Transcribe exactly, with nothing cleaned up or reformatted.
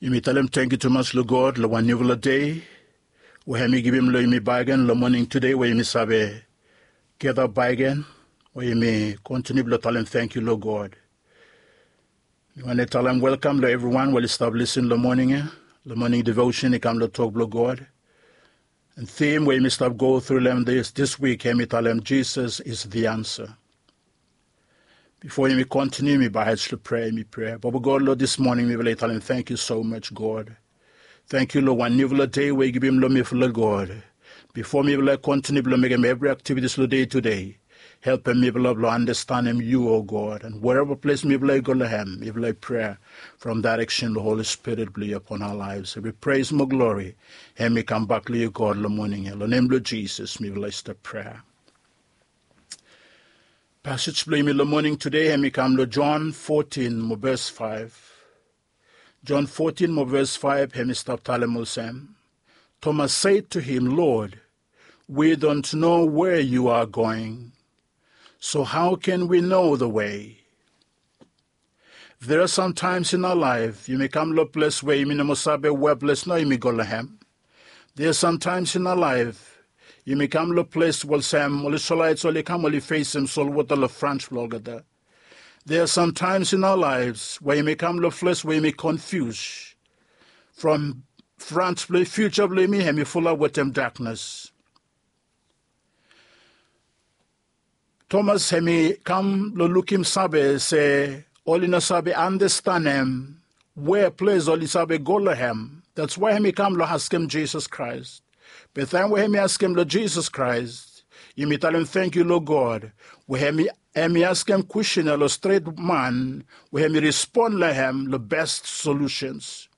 Yumi talem tangkiu tumas long God long wan niufala dei we hem i givim long yumi bakegen long moning tude we yumi save geda bakegen we yumi kontiniu blong talem tangkiu long God. Mi wantem talem welkam long evriwan we oli stap lisin long moning ya. Long moning devotion i kam long tok blong God. And theme we yumi stap go tru long hem dis wik hem i talem Jesus is the answer. Bifo yumi kontiniu yumi bae hed long prea, yumi prea. Baba God, long dis moning mifala i talem tangkiu so much God. Tangkiu long wan niufala dei we yu givim long mifala God. Bifo mifala i kontiniu blong mekem evri aktivitis long dei tude, helpem mifala blong andastanem yu, o God, and wereva ples mifala i go long hem, mifala i prea from daireksen long Holi Spirit blong yu apon aoa laef. Evri pres mo glori hem i kambak long yu God long moning ya. Long nem blong Jisas mifala i stap prea. Pasej blong yumi long moning tude hem i kam long John fotin mo ves faef. John fotin mo ves faef hem i stap talem olsem, Thomas said to him, Lord, we don't know where you are going, so how can we know the way? There are sometimes in our life yumi kam long ples we yumi no moa save wea ples nao yumi go long hem. There are sometimes in our life yumi kam long ples we olsem ol Isrelaets oli kam oli fesem solwota long frans blong olgeta. There are sometimes in our lives we yumi kam long ples we yumi konfius from frans blong fiuja blong yumi hem i fulap wetem daknes. Thomas hem i kam long lukim save se oli no save andastanem we ples oli save go long hem. That's why hem i kam long askem Jisas Kraes. Be taem we hem i askem long Jisas Kraes, yumi talem tangkiu long God we hem i askem kwestin ya long stret man we hem i respon long hem long bes solusens.